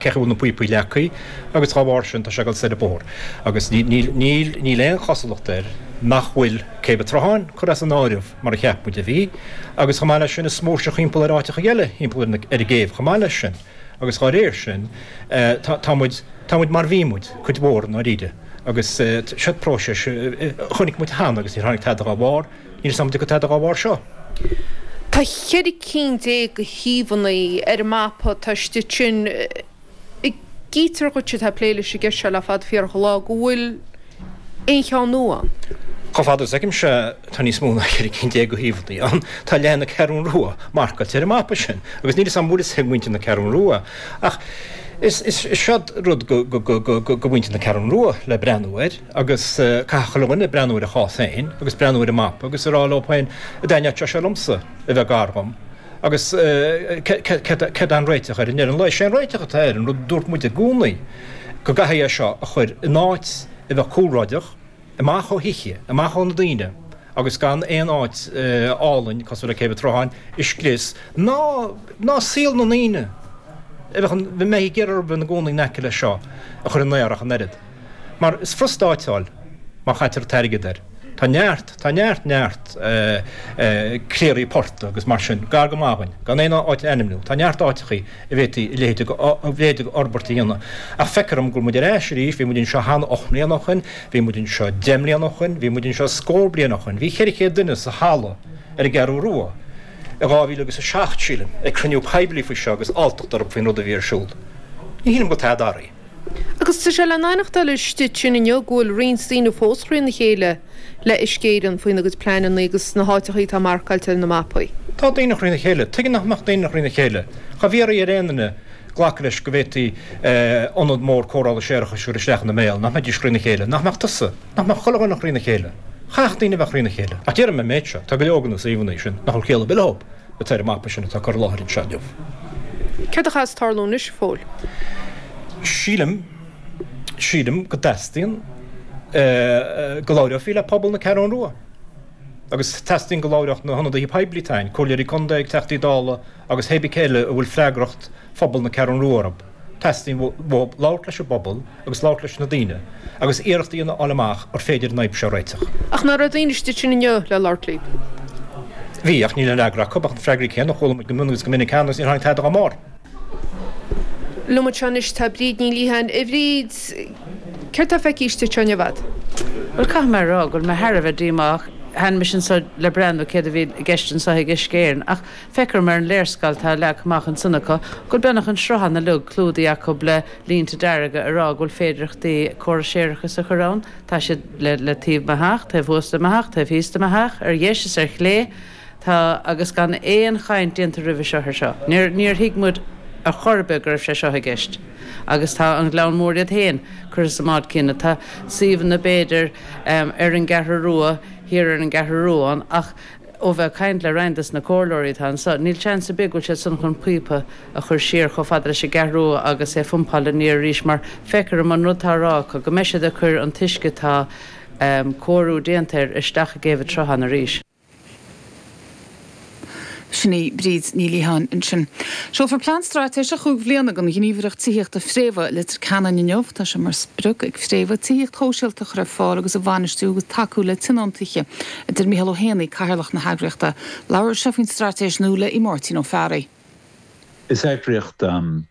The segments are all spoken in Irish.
Cé acu a bhfuil na píopaí leagtha agus dá bharr sin tá sé ag dul soir an bóthar agus níl aon chosúlacht air nach bhfuil Céibh an tSrutháin curtha as an áireamh mar a cheap muid a bhí agus chomh maith leis sin is smaoirseacht thimpeall ar áiteacha eile thimpeall ar an gcéibh chomh maith leis sin agus dá réir sin tá muid tá muid mar bhí muid cuid mhór i ndáiríre agus seo próiseas a chonaic muid cheana agus níor tháinig tada dá bharr. Níl 'fhios a'm an dtiocfaidh tada dá bharr seo. Tá 14 cinn de shuíomhanna ar an mapa atá istigh ansin. Chítear dhuit atá ag plé leis an gceist seo le fada fíorach an lá go bhfuil aon cheann nua ann. Chomh fada is a fheicimse tá níos mó ná 14 cinn de shuíomhanna ann. Tá leath na Ceathrún Rua marcáilte ar an mapa sin agus níl 'fhios a'm an bhfuil 'fhios ag muintir na Ceathrún Rua ach is seod rud go mhuintir na Ceathrún Rua le breathnú air. Agus caithfidh chuile dhuine breathnú ar a chás féin agus breathnú ar an mapa agus a rá leo féin, an dtaitneodh sé seo liomsa a bheith gar dhom? Agus céard é an réiteach air i ndeireadh an lae? Sé an réiteach atá air, an rud a dúirt muid i gcónaí, go gcaithfí é seo a chur in áit a bheadh cúlráideach, amach ó thithe, amach ó na daoine agus gan aon áit álainn cosúil le Céibh an tSrutháin a scrios, ná ná saol na ndaoine a bheadh, a mbeidh ag iarraidh a bheith ina gcónaí in aice leis seo a chur i mbaol ach an oiread. Mar is furasta áiteáil má chaitear an t-airgead air. Tá neart, tá neart, neart cléirí portaigh agus mar sin, gar go maith dhúinn, gan aon áit a ainmniú. Tá neart áiteachaí a bhféadfaí a leithéid de, a leithéid de fhorbairt a dhéanamh. Ach feictear dhom go bhfuil muid ar ais arís, bhí muid anseo cheana 8 mbliana ó shoin, bhí muid anseo 10 mbliana ó shoin, bhí muid anseo scór bliain ó shoin. Bhí 400 duine sa halla ar an gCeathrú Rua i 2007, sílim, ag cruinniú poiblí faoi seo agus alltacht orthu faoin rud a bhí ar siúl. Ní shílim go bhfuil tada athraithe. Agus tá sé le n-aithneachtáil istigh ansin inniu go bhfuil roinnt daoine fós thrína chéile le Uisce Éireann faoina gcuid pleananna agus na háiteachaí atá marcáilte ar na mapaí. Tá daoine thrína chéile. Tuige nach mbeadh daoine thrína chéile? Cha bhféadfaí ar aon duine glacadh leis go bhféadfaí ionad mór cóireála séarachais a chur isteach ina mbéal, nach mbeidís thrína chéile? Nach mbeadh tusa? Nach mbeadh chuile dhuine thrína chéile? Chaithfeadh daoine a bheith thrína chéile. Ach déarfaidh mé an méid seo, tá go leor de na suíomhanna sin nach bhfuil ciall ar bith leo. atá ar an mapa sin atá curtha i láthair anseo inniu. Céard a chaithfeas tarlú anois, a Phóil? Sílim, sílim go dteastaíonn go labhrófaí le pobal na Ceathrún Rua. Agus teastaíonn go labhródh na hionadaithe poiblí atá ann, comhairleoirí contae, teachtaí Dála agus hé bith cé eile a bhfuil freagracht phobal na Ceathrún Rua orthu. Teastaíonn uathu labhairt leis an bpobal agus labhairt leis na daoine agus iarracht a dhéanamh a fháil amach ar féidir an fhadhb seo a réiteach. Ach nach raibh daoine istigh ansin inniu le labhairt libh? Bhí, ach níl aon fhreagra acu ach na freagraí céanna a chuala muid go mion agus go minic cheana agus níor tháinig tada dá mbarr. Liom anseo anois tá Bríd Ní Liatháin. A Bhríd, céard tá feicthe istigh anseo inniu agat? Bhuel, caithfidh mé a rá go bhfuil mé thar a bheith díomách. Tháinig mise anseo le breathnú céard a bhí i gceist anseo ag Uisce Éireann ach Feictear dom ar an léarscáil atá leagtha amach ansan acu go bhfuil beagnach an sruthán uilig clúdaithe acu le línte dearga ag rá go bhfuil féidireachtaí córas séarachais a chur ann. Tá siad le le taobh mo theach, taobh thuas de mo theach, taobh thíos de mo theach, ar dheis is ar chlé. Tá, agus gan aon chaint déanta roimhe seo ar seo. Níor, níor thuig muid ar chor ar bith go raibh sé seo i gceist. Agus tá an Gleann Mór iad féin curtha sa mbád céanna. Tá suíomhanna b'fhéidir ar an gCeathrú Rua, thiar ar an gCeathrú Rua ann ach, Ó bheith ag caint le roinnt des na comhairleoirí atá anso, níl seans ar bith go bhfuil siad san chun píopa a chur siar chomh fada leis an gCeathrú Rua agus é a phumpáil aniar arís mar feictear dom an rud atá á rá acu go mbeidh siad ag cur an t-uisce atá cóiriú déanta air isteach i gCéibh an tSrutháin arís. Sin í Bríd Ní Liatháin ansin. Seolfar plean straitéiseach chúig bhliana don ghníomhaireacht tithíochta Fréamha i Leitir Ceanainn inniu. Tá sé mar sprioc ag Fréamha tithíocht shóisialta a chur ar fáil agus a bhainistiú agus tacú le tionóntaithe, a deir Mícheál Ó hÉanaí, Cathaoirleach na heagraíochta. Labhair sé faoin straitéis nua le Máirtín Ó Fearraigh. Is eagraíocht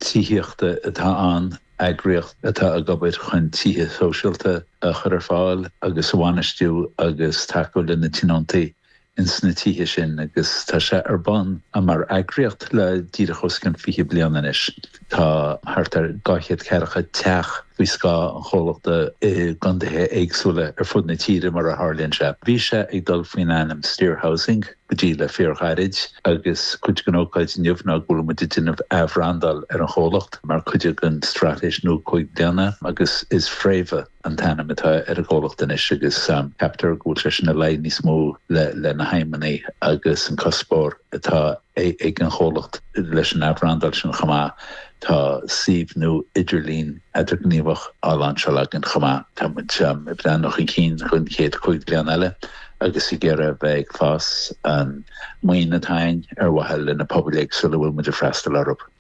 tithíochta atá ann, eagraíocht atá ag obair chun tithe sóisialta a chur ar fáil agus a bhainistiú agus tacú le na tionóntaí ins na tithe sin agus tá sé ar bun mar eagraíocht le díreach os cionn 20 bliain anois. Tá thart ar 240 teach faoi scáth an chomhlachta i gcontaetha éagsúla ar fud na tíre mar a tharlaíonn sé. Bhí sé ag dul faoin ainm Steer Housing go dtí le fíorghairid agus cuid den ócáid inniu ná go bhfuil muid ag déanamh athbhrandáil ar an chomhlacht mar chuid den straitéis nua 5 bliana agus is Fréamha an t-ainm atá ar an gcomhlacht anois agus ceaptar go bhfuil sé sin ag luí níos mó le na haidhmeanna agus an cuspóir atá ag an chomhlacht leis an athbhrandáil sin chomh maith. Tá suíomh nua idirlín eadarghníomhach á lainseáil againn chomh maith. Tá muid ag breathnú chun cinn don chéad chúig bliana eile agus ag iarraidh a bheith ag fás an maoin atá againn ar mhaithe le na pobail éagsúla a bhfuil muid ag freastal orthu.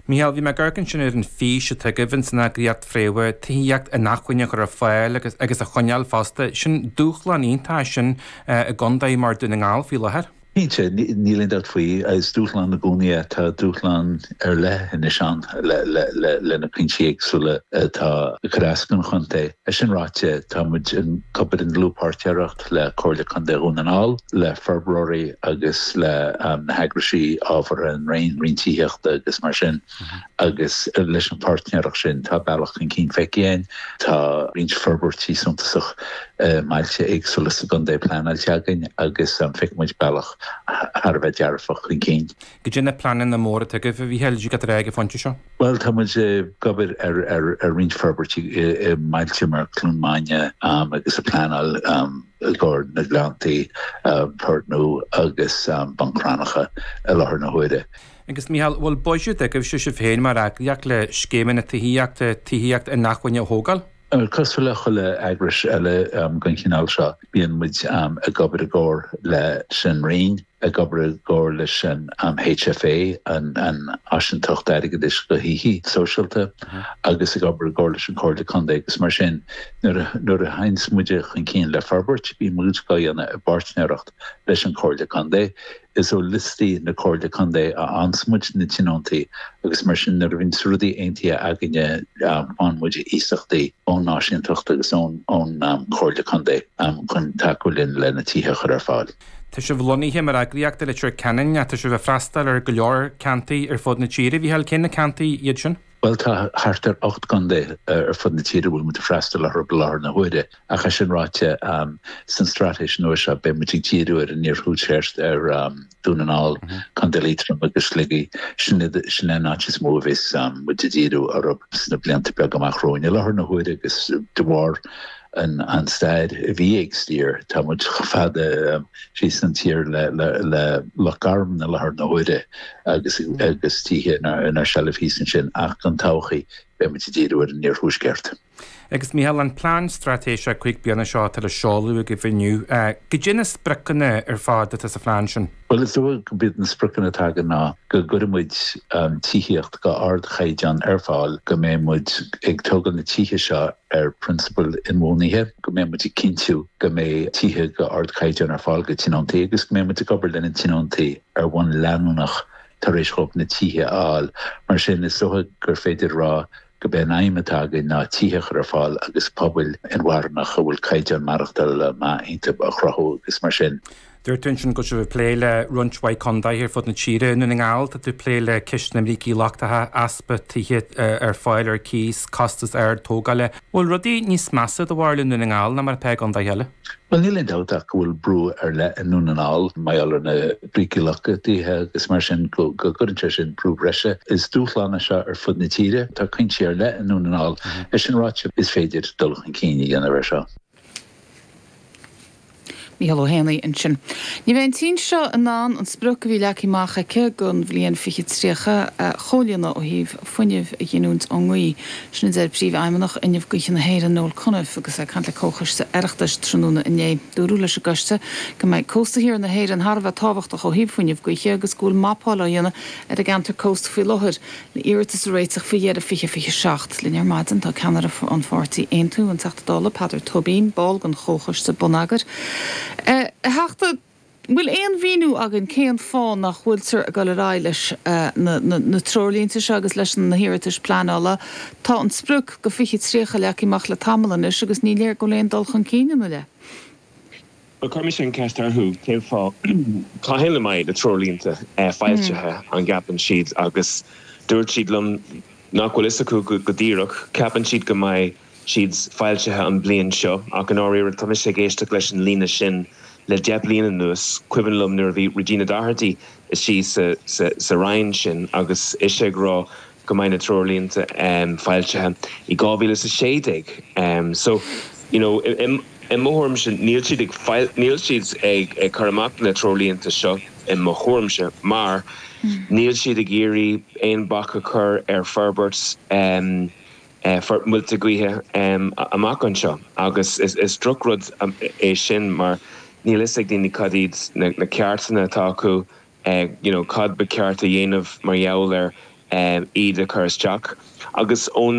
Mícheál, bhí mé ag amharc ansin ar an fís atá agaibh ins an eagraíocht Fréamha, tithíocht inacmhainne a chur ar fáil agus agus a choinneáil fosta. Sin dúshlán iontach é sin i gcontae mar Dún na nGall faoi láthair. Cinnte, níl aon dabht faoi. Is dúshlán i gcónaí é. Tá dúshlán ar leith anois ann le na cúinsí éagsúla atá ag cur as don chontae. É sin ráite, tá muid ag obair i ndlúthpháirtéireacht le Comhairle Contae Dhún na nGall, le forbróirí agus le na heagraisí ábhartha, an Roinn, Roinn Tithíochta agus mar sin, agus leis an pháirtnéireacht sin tá bealach chun cinn feicthe againn. Tá roinnt forbairtí suntasach i mbailte éagsúla sa gcontae pleanáilte againn agus feiceann muid bealach thar a bheith dearfach chun cinn. Goidé na pleananna móra atá agaibh, a Mhícheáil, ag dul ar aghaidh ag an phointe seo? Bhuel, tá muid ag obair ar roinnt forbairtí i mbailte mar Cluain Maine agus ag pleanáil i gcomhair na Gleanntaí, Port Nua agus Bun Cranncha i láthair na huaire. Agus Mícheál, bhfuil buiséad agaibhse sibh féin mar eagraíocht le scéimeanna tithíochta, tithíocht inacmhainne a thógáil? Cosúil le chuile eagrais eile den chineál seo, bíonn muid ag obair i gcomhar leis an Roinn, ag obair i gcomhar leis an HFA, an Áisinteacht Airgeadais do Thithe Sóisialta, agus ag obair i gcomhar leis an Chomhairle Contae agus mar sin. Nuair a théanns muide chun cinn le forbairt, bíonn muid á dhéanamh i bpáirtnéireacht leis an Chomhairle Contae. Is ó liostaí na Comhairle Contae a fhaigheanns muid na tionóntaí agus mar sin nuair a bhíonns rudaí aontaithe againne faigheann muid iasachtaí ón Áisinteacht agus ón Chomhairle Contae chun tacú linn le na tithe a chur ar fáil. Tá sibh lonnaithe mar eagraíocht i Leitir Ceanainn ach tá sibh ag freastal ar go leor ceantaí ar fud na tíre. A Mhícheáil, cé na ceantaí iad sin? Bhuel, tá thart ar 8 gcontae ar fud na tíre a bhfuil muid ag freastal orthu i láthair na huaire. Ach é sin ráite, san straitéis nua seo beidh muid ag díriú ar an iarthuaisceart, ar Dún na nGall, Contae Liatroma agus Shligigh. Sin sin an áit is mó a bheas muid ag díriú orthu sna blianta beaga amach romhainn. I láthair na huaire agus de bharr an stair a bhí ag Steer, tá muid chomh fada síos an tír le Loch Garman i láthair na huaire agus agus tithe inár seilbh thíos ansin ach don todhchaí beidh muid ag díriú ar an iarthuaisceart. Agus Mícheál, an plean straitéiseach 5 bliana seo atá le seoladh agaibh inniu, goidé na spriocanna ar fad atá sa phlean sin? Bhuel, is dóigh gurb iad na spriocanna atá againn ná go gcuirfidh muid tithíocht go ardchaighdeán ar fáil, go mbeidh muid ag tógáil na tithe seo ar phrionsabail inbhuanaithe, go mbeidh muid ag cinntiú go mbeidh tithe go ardchaighdeán ar fáil go tionóntaí agus go mbeidh muid ag obair lena tionóntaí ar bhonn leanúnach tar éis dhóibh na tithe a fháil. Mar sin, is dócha gur féidir a rá gurb é an aidhm atá againn ná tithe a chur ar fáil agus pobail inmharthanacha a bhfuil caighdeán maireachtála maith iontu a chruthú agus mar sin. Dúirt tú ansin go bhfuil sibh ag plé le roinnt mhaith contaetha ar fud na tíre. I nDún na nGall, tá tú ag plé le ceist na mbrící lochtacha, easpa tithe ar fáil ar cíos, costas ard tógála. Bhfuil rudaí níos measa do bharúil i nDún na nGall ná mar atá i gcontaetha eile? Bhuel, níl aon dabht ach go bhfuil brú ar leith i nDún na nGall mar gheall ar na brící lochtaithe agus mar sin go gcuireann sé sin brú breise. Is dúshlán é seo ar fud na tíre. Tá cúinsí ar leith i nDún na nGall. É sin ráite, is féidir dul chun cinn a dhéanamh air seo. Mícheál Ó hÉanaí ansin. Ní bheidh an tSín seo in ann an sprioc a bhí leagtha amach aici don bhliain 2030 a chomhlíonadh ó thaobh fuinneamh a ghiniúint ón ngaoth. Sin a deir Príomhfheidhmeannach Fhuinneamh Gaoithe na hÉireann, Noel Cunniffe, agus é ag caint le Comhchoiste Oireachtais tráthnóna inné. Dúradh leis an gcoiste go mbeidh cósta thiar na hÉireann thar a bheith tábhachtach ó thaobh fuinneamh gaoithe agus go bhfuil mapáil á dhéanamh ar an gceantar cósta faoi láthair le iarratais a réiteach faoi dheireadh 2027. Linn ar maidin tá ceannaire an pháirtí Aontú, an Teachta Dála Peadar Tóibín, ball den Chomhchoiste Bonneagair. A Theachta, an bhfuil aon mhíniú againn cén fáth nach bhfuiltear ag dul ar aghaidh leis na treoirlínte seo agus leis na hiarratais pleanála? Tá an sprioc go 2030 leagtha amach le tamall anois agus ní léir go bhfuil aon dul chun cinn ina leith. Bhuel, chuir mise an cheist orthu, cén fáth, cathain a mbeidh na treoirlínte foilsithe, an gceapann siad, agus dúirt siad liom nach bhfuil fhios acu go díreach, ceapann siad go mbeidh siad foilsithe an bhliain seo, ach i ndáiríre tá mise ag éisteacht leis an líne sin le 10 bliana anuas. Cuimhin liom nuair a bhí Regina Doherty istigh sa Roinn sin agus ise ag rá go mbeidh na treoirlínte foilsithe i 2016. So, you know, i mo thuairimse níl siad ag níl siad ag ag cur amach na treoirlínte seo i mo thuairimse mar níl siad ag iarraidh aon bac a chur ar forbairt muilte gaoithe amach anseo agus is drochrud é sin mar níl fhios ag daoine cad iad na ceartanna atá acu you know cad ba cheart a dhéanamh mar gheall ar. iad a chur isteach agus ón.